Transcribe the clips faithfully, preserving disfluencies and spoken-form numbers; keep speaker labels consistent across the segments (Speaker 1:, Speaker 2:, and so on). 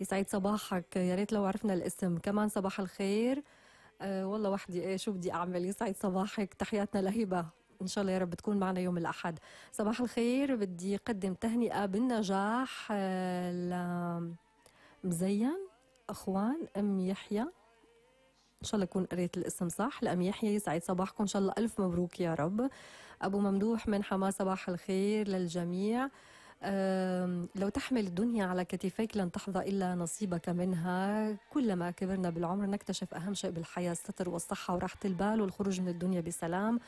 Speaker 1: يسعد صباحك، يا ريت لو عرفنا الاسم كمان. صباح الخير. أه والله وحدي ايه شو بدي اعمل. يسعد صباحك، تحياتنا لهبه، ان شاء الله يا رب تكون معنا يوم الاحد. صباح الخير، بدي اقدم تهنئه بالنجاح أه لمزين اخوان ام يحيى، ان شاء الله اكون قريت الاسم صح، لام يحيى. يسعد صباحكم، ان شاء الله الف مبروك يا رب. ابو ممدوح من حماه، صباح الخير للجميع. لو تحمل الدنيا على كتفيك لن تحظى إلا نصيبك منها. كلما كبرنا بالعمر نكتشف أهم شيء بالحياة الستر والصحة وراحة البال والخروج من الدنيا بسلام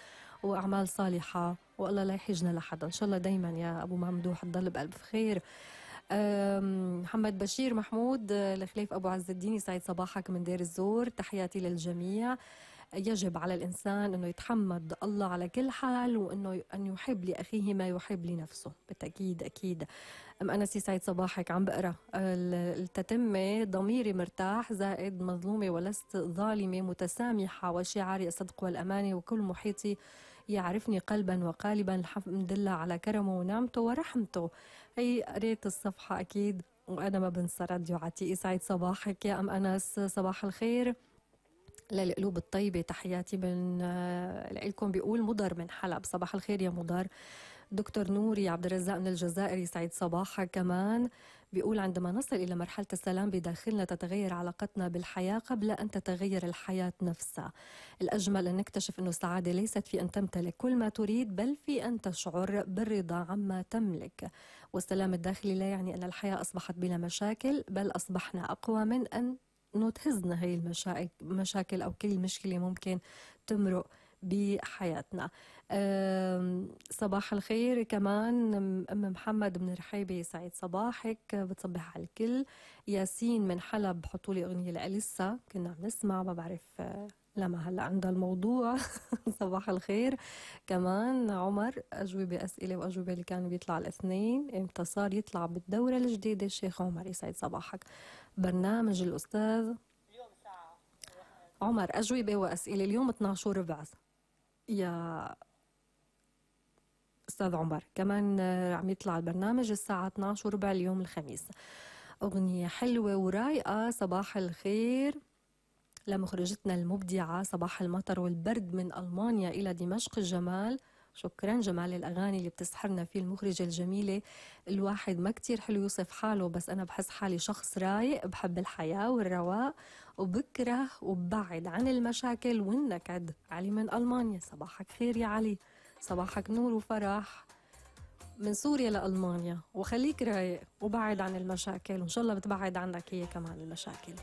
Speaker 1: وأعمال صالحة، والله لا يحيجنا لحدا إن شاء الله دايما يا أبو ممدوح، تضل بألف خير. محمد بشير محمود الخليف أبو عز الدين، يسعد صباحك من دير الزور، تحياتي للجميع. يجب على الإنسان أنه يتحمد الله على كل حال، وأنه أن يحب لأخيه ما يحب لنفسه، بالتأكيد أكيد. أم أنس يسعد صباحك، عم بقرأ التتمة، ضميري مرتاح زائد مظلومة ولست ظالمة، متسامحة وشعاري الصدق والأمانة، وكل محيطي يعرفني قلبا وقالبا، الحمد لله على كرمه ونعمته ورحمته. هي قريت الصفحة أكيد وأنا ما بنسى راديوعاتي. يسعد صباحك يا أم أنس، صباح الخير للقلوب الطيبة، تحياتي من لكم. بيقول مضر من حلب، صباح الخير يا مضر. دكتور نوري عبد الرزاق من الجزائر، يسعد صباحك كمان. بيقول عندما نصل إلى مرحلة السلام بداخلنا تتغير علاقتنا بالحياة قبل أن تتغير الحياة نفسها. الأجمل أن نكتشف أن السعادة ليست في أن تمتلك كل ما تريد، بل في أن تشعر بالرضا عما تملك. والسلام الداخلي لا يعني أن الحياة أصبحت بلا مشاكل، بل أصبحنا أقوى من أن انه تهزنا هي المشاكل او كل مشكله ممكن تمرق بحياتنا. صباح الخير كمان ام محمد من رحيبه، يسعد صباحك، بتصبح على الكل. ياسين من حلب، حطوا لي اغنيه لاليسا، كنا عم نسمع ما بعرف لما هلا عندها الموضوع. صباح الخير كمان. عمر، اجوبه اسئله واجوبه اللي كانوا بيطلع الاثنين، امتى صار يطلع بالدوره الجديده الشيخ عمر؟ يسعد صباحك. برنامج الاستاذ
Speaker 2: اليوم ساعه
Speaker 1: عمر، اجوبه واسئله اليوم اثنعش وربع يا استاذ عمر. كمان عم يطلع البرنامج الساعه اثنعش وربع اليوم الخميس. اغنيه حلوه ورايقه. صباح الخير لمخرجتنا المبدعة صباح المطر والبرد من ألمانيا إلى دمشق الجمال. شكرا، جمال الأغاني اللي بتسحرنا فيه المخرجة الجميلة. الواحد ما كتير حلو يوصف حاله، بس أنا بحس حالي شخص رايق، بحب الحياة والرواء، وبكره وببعد عن المشاكل والنكد. علي من ألمانيا، صباحك خير يا علي، صباحك نور وفرح من سوريا لألمانيا. وخليك رايق وبعد عن المشاكل، وإن شاء الله بتبعد عنك هي كمان المشاكل.